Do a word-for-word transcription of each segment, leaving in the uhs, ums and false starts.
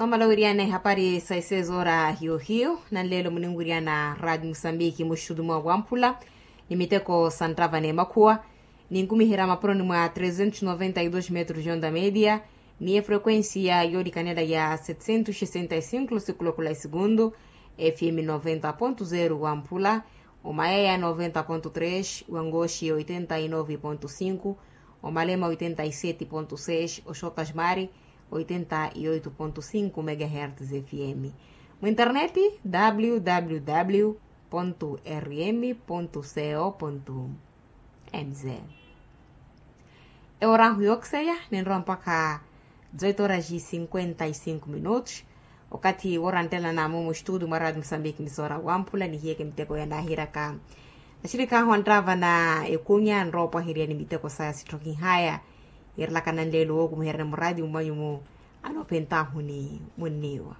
Amala wiriana ehapari sa isezoora hiyo-hiyo nanleelo muninwiriana radi musambiki muxutu mwa wamphula ni miteko sa nttava n'emakhuwa. Ninkumiherya mapuroni mwa trezentos noventa y dos metros yonda media ni efrequencia yoolikanela ya setecentos sesenta y cinco losikulokola esegundu, fm noventa ponto zero wamphula, omayaya noventa ponto tres, wangoxi oitenta y nove ponto cinco, omalema oitenta y sete ponto seis, oxotasmari oitenta y oito ponto cinco megahertz fm. Mwinterneti, www rm co mz. Eworahu yookiserya ninrowa mpakha dezoito horas e cinquenta y cinco minutos. Okathi wooranttelana mumu estudio mwa radio musambiki misoora wamphula nihiyeke miteko yanaahiryaka axirikhahu anttava na ekunya nrowa opwaherya ni miteko saya sitthokihaya. Yiirelaka nanleelo wookumiheryani muradio mwanyu mu anoophentahu ni munniiwa.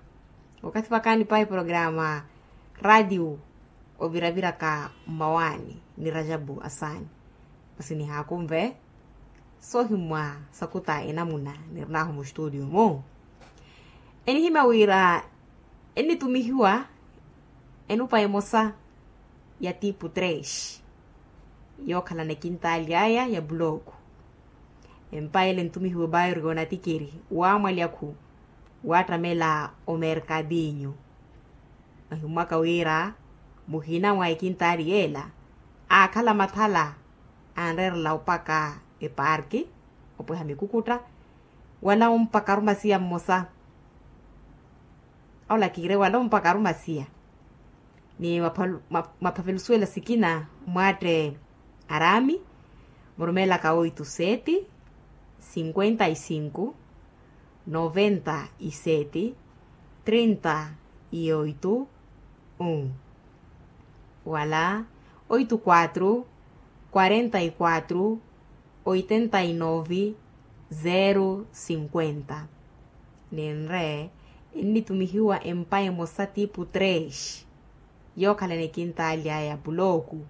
Okathi vakaani pahi programa radio oviraviraka mmawaani ni rajabu asaani. Masi nihaakunve soohimmwa sakuta enamuna nirinahu muxtuudio-mu. Enihimya wira ennitumihiwa enupa emosa ya tipu tres yookhalana ekintaali aya ya pulooku. Empa ele entumihiwa ebairo yoonatikiri waamwalyakhu waattamela omerkadinyu. Ahimmwaka wira muhina mwa ekintaali yeela aakhala mathala anreerela opaka eparki opweha mikukutta wala ompaka arumasiya mmosa. Awo lakire wala ompaka arumasiya ni maphavelusuwela sikina mwaatte arami murumeelaka oito sete cinquenta y cinco noventa y sete trinta y oito un wala oito quatro quarenta y quatro oitenta y nove zero cinquenta. Ninre ennitumihiwa empa emosa tipu tres yookhalana ekintaali aya ya pulooku.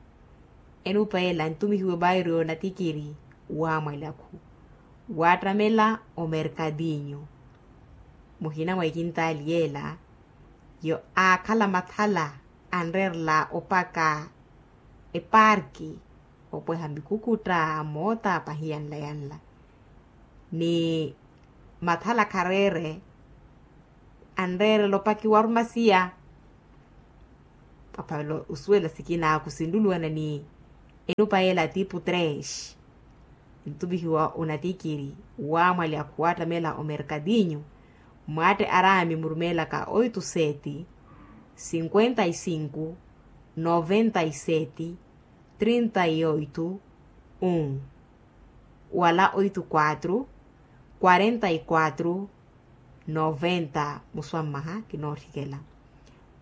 Enupa ela entumihiwa ebairo yoonatikiri waamwalyakhu waattamela omerkadinyu. Muhina mwa ekintaali yeela yo aakhala mathala anreerela opaka eparki opweha mikukutta moota pahi yanla yanla ni mathala khareere anreerela opakiwa arumasiya. Paphavelo osuwela sikina khusinluluwana ni enupa yeela tipu tres entumihiwa onatikiri waamwali akhuwaattamela omerkadinyu mwaatte arami murumeelaka oito sete cinquenta y cinco noventa y sete trinta y oito un wala oito quatro quarenta y quatro noventa muswammaha kinootthikela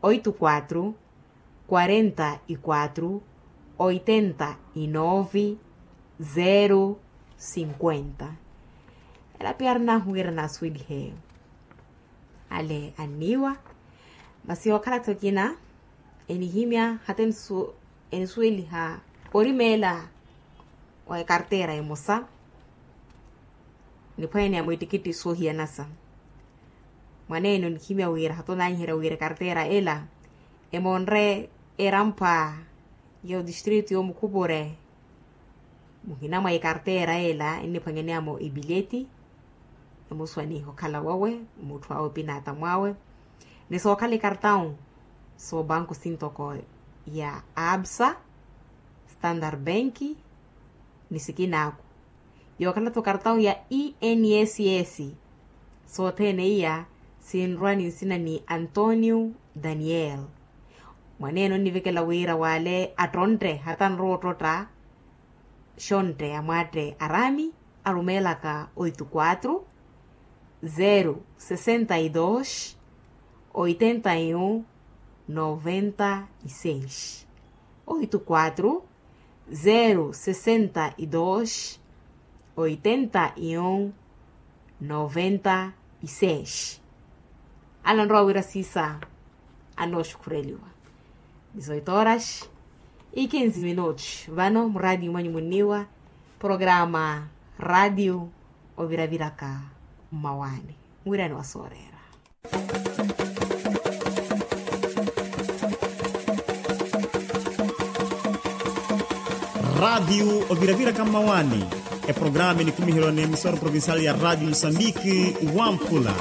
oito quatro quarenta y quatro oitenta y nove zero cinquenta. Ela piya arinahu wira naasuwelihe ale anniiwa masi yookhala-tho ekina enihimya hata enisuweliha orimeela wa ekartera emosa niphwanya ni ya mwittikitti soohiyanasa. Mwaneene onihimya wira hata onaanyiherya wira ekartera ela emoonre erampwa ya otistritu yoomukhupure muhina mwa ikartera ela enniphwanyaneyamo epileti emuswaniha okhala wawe mutthu awe opinaata mwawe ni sookhala ikartawu soobanku sintoko ya absa standard bank ni sikinaaku yookhala-tho kartawu ya enss sothene iya sinrwa ni nsina ni antonio daniel. Mwaneene onnivekela wira wale attontte hata anrowa ottotta xontte ya mwaatte arami arumeelaka oito quatro zero sessenta y dos oitenta y um noventa y seis oito quatro zero sessenta y dos oitenta y um noventa y seis. Ananrowa wira siisa anooxukhureliwa dezoito horas e quinze minutos vano muraatiyo mwanyu munniiwa programa raatiyo oviraviraka mmawaani mwirani wa sooreera. Raatiyu oviraviraka mmawaani. Eprograma enikumiherya n'emisora provincial ya raatiyu musambiki, wampula.